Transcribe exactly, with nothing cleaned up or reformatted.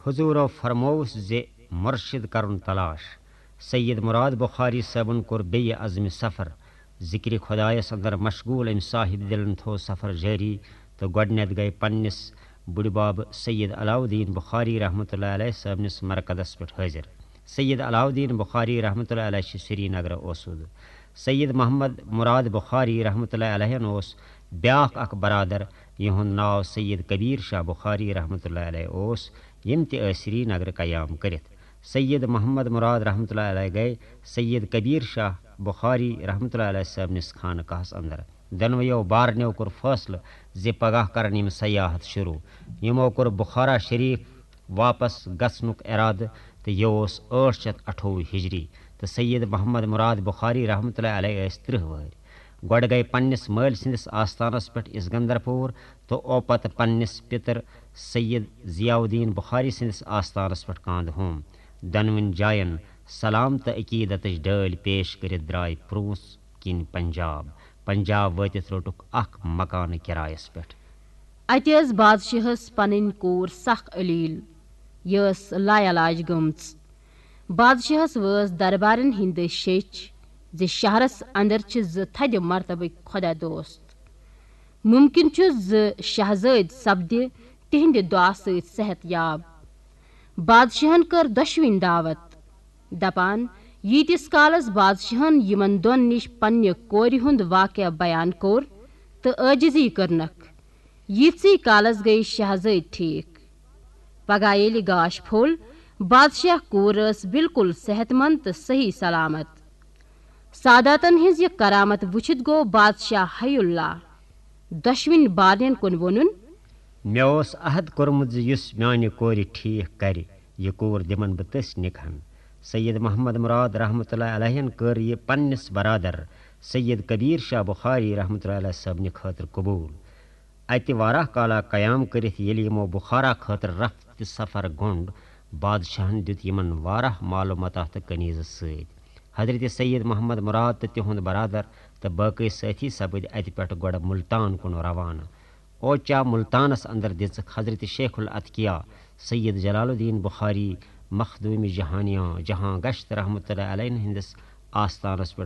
حضورو فرمووُس زِ مرشد کرُن تلاش۔ سید مراد بخاری صٲبن کوٚر بیٚیہِ عزمِ سفر۔ ذکرِ خدایس اندر مشغول أمۍ صاحب دلن تھوو سفر جٲری تہٕ گۄڈٕنٮ۪تھ گٔے پننِس بُڈِ بابہٕ سید علاؤالدین بخاری رحمتہ اللہ علیہ صٲبنِس مرکزس پٮ۪ٹھ حٲضِر۔ سید علاؤالدین بخاری رحمتہ اللہ علیہ چھِ سرینگرٕ اوسُد۔ سید محمد مراد بخاری رحمتہ اللہ علیہن اوس بیٛاکھ اکھ برادر، یِہُنٛد ناو سید کبیر شاہ بخاری رحمتہ اللہ علیہ اوس، یِم تہِ ٲسۍ سرینگرٕ قیام کٔرِتھ۔ سید محمد مراد رحمتہ اللہ علیہ گٔے سید کبیر شاہ بخاری رحمتہ اللہ علیہ صٲبنِس خانقاہس اندر۔ دۄنوَیو بارنیو کوٚر فٲصلہٕ زِ پگاہ کرن یِم سیاحت شروع۔ یِمو کوٚر بخارا شریف واپس گژھنُک ارادٕ، تہٕ یہِ اوس ٲٹھ شیٚتھ اَٹھووُہ ہجری، تہٕ سید محمد مراد بخاری رحمتہ اللہ علیہ ٲسۍ ترٕٛہ وٕہٕرۍ۔ گۄڈٕ گٔے پننِس مٲلۍ سٕنٛدِس آستانس پٮ۪ٹھ اسکندر پوٗر تہٕ اوپتہٕ پننِس پِتر سید ضیاء الدین بخاری سٕنٛدِس آستانس پٮ۪ٹھ کاندٕ ہوم۔ دۄنوٕنۍ جاین سلام تہٕ عقیدتٕچ ڈٲلۍ پیش کٔرِتھ درٛاے پرٛونٛس کِنۍ پنجاب۔ پنجاب وٲتِتھ روٚٹُکھ اکھ مکانہٕ کرایس پٮ۪ٹھ۔ اتہِ ٲس بادشاہس پنٕنۍ کوٗر سخ علیل۔ یہِ ٲس لاعلاج گٔمٕژ۔ بادشاہس وٲژ دربارن ہٕنٛدۍ دٔسۍ شیٚچھ زِ شہرس اندر چھِ زٕ تھدِ مرتبٕکۍ خۄدا دوست۔ مُمکِن چھُ زِ شہزٲدۍ سپدِ تِہنٛدِ دُعا سۭتۍ صحت یاب۔ بادشاہن کٔر دۄشوٕنۍ دعوت، دپان، ییٖتِس کالس بادشاہن یِمن دۄن نِش پننہِ کورِ ہُنٛد واقعہ بیان کوٚر تہٕ عٲجزی کٔرنکھ، ییٖتسٕے کالس گٔیہِ شہزٲدۍ ٹھیٖک۔ پگاہ ییٚلہِ گاش پھوٚل، بادشاہ کوٗر ٲس بالکل صحت مند تہٕ صحیح سلامت۔ ساداتن ہٕنٛز یہِ کرامت وُچھِتھ گوٚو بادشاہ حی اللہ دۄشوٕنۍ بارنٮ۪ن کُن ووٚنُن۔ مےٚ اوس عہد کوٚرمُت زِ یُس میانہِ کورِ ٹھیٖک کرِ، یہِ کوٗر دِمن بہٕ تٔسۍ نِکہن۔ سید محمد مراد رحمتہ اللہ علیہن کٔر یہِ پننِس برادر سید کبیر شاہ بخاری رحمتہ اللہ علیہ صٲبنہِ خٲطرٕ قبوٗل۔ اتہِ واریاہ کالا قیام کٔرِتھ ییٚلہِ یِمو بخارا خٲطرٕ رفت تہٕ سفر گوٚنٛڈ، بادشاہن دیُت یِمن واریاہ مال و متاع تہٕ کنیزٕ سۭتۍ۔ حضرت سید محمد مراد تہٕ تِہُنٛد برادر تہٕ باقٕے سٲتھی سپٕدۍ اتہِ پٮ۪ٹھ گۄڈٕ ملتان کُن روانہٕ۔ اوچا ملتانس اندر دِژٕکھ حضرت شیخ الاتقیا سید جلال الدین بخاری مخدوم جہانیاں جہاں گشت رحمتہ اللہ علیہ ہٕنٛدِس آستانس پٮ۪ٹھ